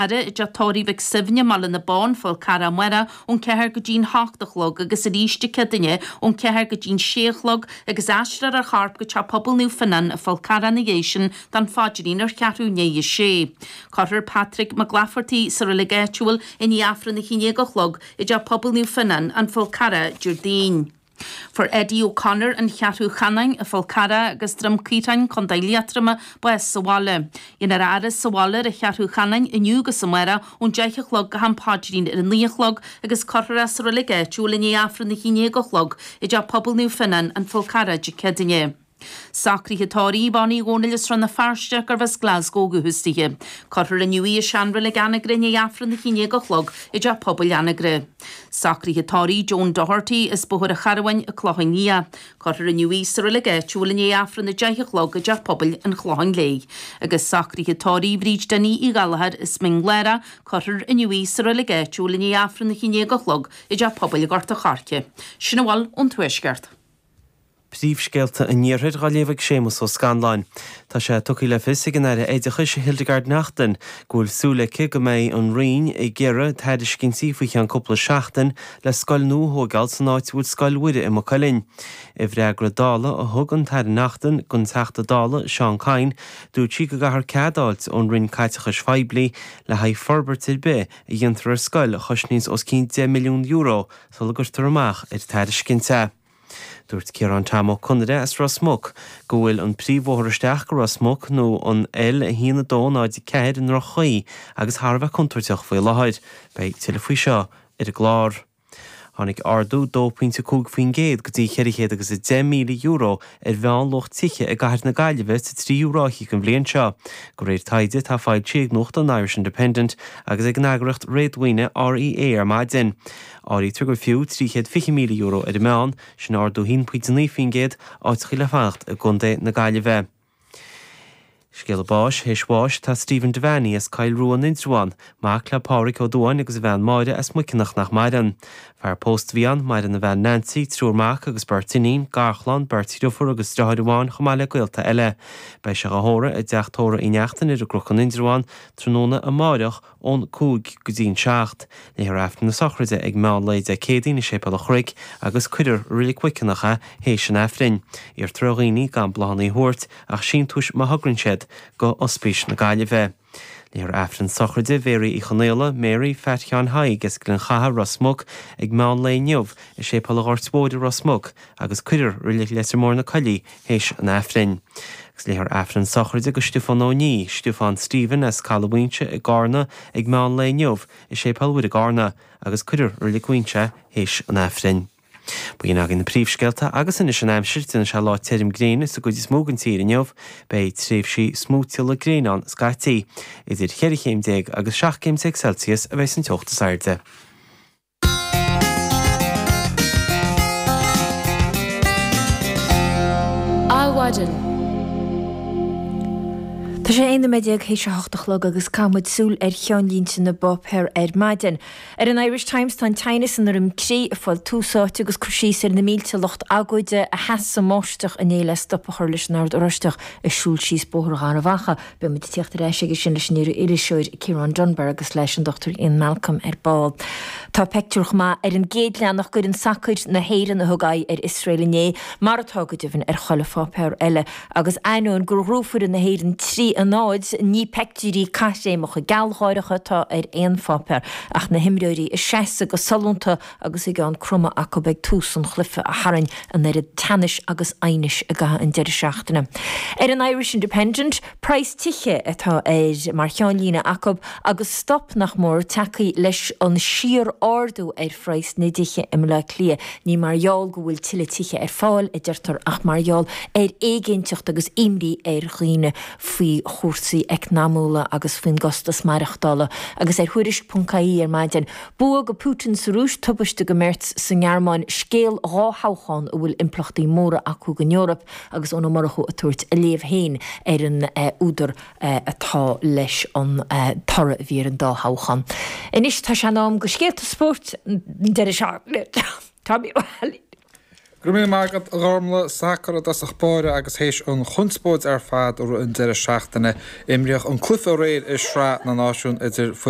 Faire i dteach tórraimh Mhic Suibhne i mBaile na Bó, An Fál Carrach amárach ón 4 go dtí'n 8 a chlog agus arís Dé Céadaoine ón 4 go dtí'n 6 a chlog agus aistreofar a chorp go Teach Pobail Naomh Fionnán, An Fál Carrach ina dhiaidh sin don phaidrín ar cheathrú i ndiaidh a sé. Cuirfear Patrick Mac Laifeartaigh sa reilig áitiúil i ndiaidh Aifreann 11 a chlog i dTeach Pobail Naomh Fionnán, An Fál Carrach, Déardaoin. Fuair Eddie O'Connor, An Cheathrú Chanáin, An Fál Carrach agus Droim Caorthainn, Co. Liatroma, bás sa bhaile. Déanfar a fhaire sa bhaile ar an Cheathrú Chanáin inniu agus amárach ón 10 a chlog go ham paidrín ar a 9 a chlog agus cuirfear é sa reilig áitiúil i ndiaidh Aifreann 11 a chlog i dTeach Pobail Naomh Fionnán, An Fál Carrach Dé Céadaoine. Socruithe tórraimh Bonnie Dhónaill as Rann na Feirste gurbh as Glasgow ó dhúchas dithe. Cuirfear inniu í i seanreilig Anagaire i ndiaidh Aifreann 11 a chlog i dTeach Pobail Anagaire. Socruithe tórraimh Joan Doherty as Bóthar an Charbháin, An Clochán Liath. Cuirfear inniu í sa reilig áitiúil i ndiaidh Aifreann 10 a chlog i dTeach Pobail an Chlocháin Léith. Agus socruithe tórraimh Bhríd Dinny Uí Ghallchóir as Mín Lárach, cuirfear inniu í sa reilig áitiúil i ndiaidh Aifreann 11 a chlog i dTeach Pobail Ghort a' Choirce. Sin a bhfuil ón Tuaisceart. Príomhscéalta an Iarthair á léamh ag Séamus Ó Scanláin. Tá sé tugtha le fios ag an Aire Oideachais Hildegarde Naughton go bhfuil súil aici go mbeidh an Roinn ag iarraidh tairiscintí faoi cheann cúpla seachtain le scoil nua a thóigeáil san áit a bhfuil Scoil Mhuire i Maigh Cuilinn. I bhfreagra Dála a thug an tAire Naughton don Teachta Dála Seán Kyne dúirt sí go gcaithfear cead a fháilt ón Roinn Caiteachais Phoiblí le haghaidh forbairt ar bith a dhéantar ar scoil a chosnaíonns os cionn €10 milliún sula gcuirtear amach ar tairiscint é. Dúirt Ciarán Tom Ó Conaire as Ros Muc go bhfuil an príomhbhóthar isteach go Ros Muc nó an L1 2 0 4 i ndroch-chaoi agus thar a bheith contúirteach faoi láthair. Beidh tuilleadh faoi seo ar an gclár. Tháinig ardú 2.5% go dtí €410,000 ar mheánluach tithe i gcathair na Gaillimhe sa tríú ráithe den bhliain seo, de réir taighde atá foilsithe ag nuachtán an Irish Independent agus ag an eagraíocht réadmhaoine REA ar maidin. Áirítear gur fiú €320,000 ar an meán, sin ardú 1.9%, áiteachaí le fanacht i gContae na Gaillimhe. Scéala báis, Théis bháis tá Stephen Devaney as Coill Rua in Indreabhán, mac le Pádhraic Ó Dubháin agus a bhean Máire as Muiceanach nach maireann. Fear pósta a bhí ann, maireann a bhean Nancy, triúr mac agus beirt iníon, garchlann, beirt dhriofúr agus driotháir amháin chomh maith le gaolta eile. Beidh sé á thórramh i dteach tórraimh Uí Neachtain ar an gCnoc in Indreabhán tráthnóna amáireach Ón 5 go dtí'n 7, léifear Aifreann na sochraide ag meán lae Dé Céadaoin i Séipéal an Chnoic agus cuirfear i Reilig Mhuiceanach é théis an Aifrinn. Iarrtar ar dhaoine gan bláthanna a thabhairt ach síntiúis má thograíonn siad go Ospís na Gaillimhe. Léifear Aifreann sochraide Mhéaraí Uí Chonaola, Mary, Phat Sheáin Thaidhg as Gleann Chatha, Ros Muc, ag meán lae inniu i Séipéal an Ghoirt Mhóir i Ros Muc agus cuirfear i Reilig Leitir Móir na Coillí théis an Aifrinn. Agus léifear Aifreann sochraide do Stiofán Ó Ní, Stiofán Stephen as Caladh Mhaínse i gCarna ag meán lae inniu i Séipéal Mhuire i gCarna agus cuirfear i Reilig Mhaínse é théis an Aifrinn. B'in againn na príomhscéalta agus anois an aimsir, déanfaidh sé lá tirim gréine sa gcuid is mó den tír inniu. Beidh tréimhsí smúitíola gréine ann scaití. Idir cheithre chéim déag agus 17 céim Celsius a bheidh an teocht is airde. Adhmhaidin. Tá sé 11 nóiméad théis a hocht a chlog agus caithfidh muid súil ar cheannlínte na bpáipéar ar maidin. Ar an Irish Times tá an teannas i nDroim Crí ag fáil tús áite agus cur síos ar na mílte lucht agóide a sheas sa mbáisteach inné le stop a chur leis an Ord Oráisteach ag siúl síos Bóthar Gharbh Achaidh. Beidh muid ag tíocht ar ais aige sin leis an iriseoir Ciarán Dunbar agus leis an Dr Ian Malcolm ar ball. Tá peictiúr chomh maith ar an gcéad leathanach d'fhoireann sacair na hÉireann a thug aghaidh ar Iosrael inné, mar atá go deimhin ar chuile pháipéar eile. Agus ainneoin gur ghnóthaigh foireann na hÉireann 3 a 0, ní peictiúirí caithréimeacha gealgháireacha atá ar aon pháipéar ach na himreoirí ag seasamh go sollúnta agus a gceann cromtha acu ag tús an chluiche a tharraing an oiread teannais agus aighnis i gcaitheamh an deireadh seachtaine. Ar an Irish Independent, praghas tithe atá air mar cheannlíne acu agus stop nach mór tagtha leis an síor-ardú ar phraghas na dtithe i mBleá Cliath. Ní mar gheall go bhfuil tuilleadh tithe ar fáil, a deirtear, ach mar gheall ar éiginnteacht agus imní ar dhaoine faoi chúrsaí eacnamúla agus faoin gcostas maireachtála. Agus ar Thuairisc.ie ar maidin, Bua go Putin sa Rúis, tubaiste go Merz sa nGearmáin, scéal dhá thoghchán a bhfuil impleachtaí móra acu don Eoraip agus Eoin Ó Murchú ag tabhairt a léamh féin ar an údar atá leis an toradh a bhí ar an dá thoghchán. Anois tá sé in am go scéalta spóirt an deireadh seachtaine. Tommy Ó hAilín. Go raibh míle maith agat, a Ghormlaith. Sacar i dtosach báire agus théis an chonspóid ar fad i rith an deireadh seachtaine, imríodh an cluiche aréir i Sraith na Náisiún idir foireann.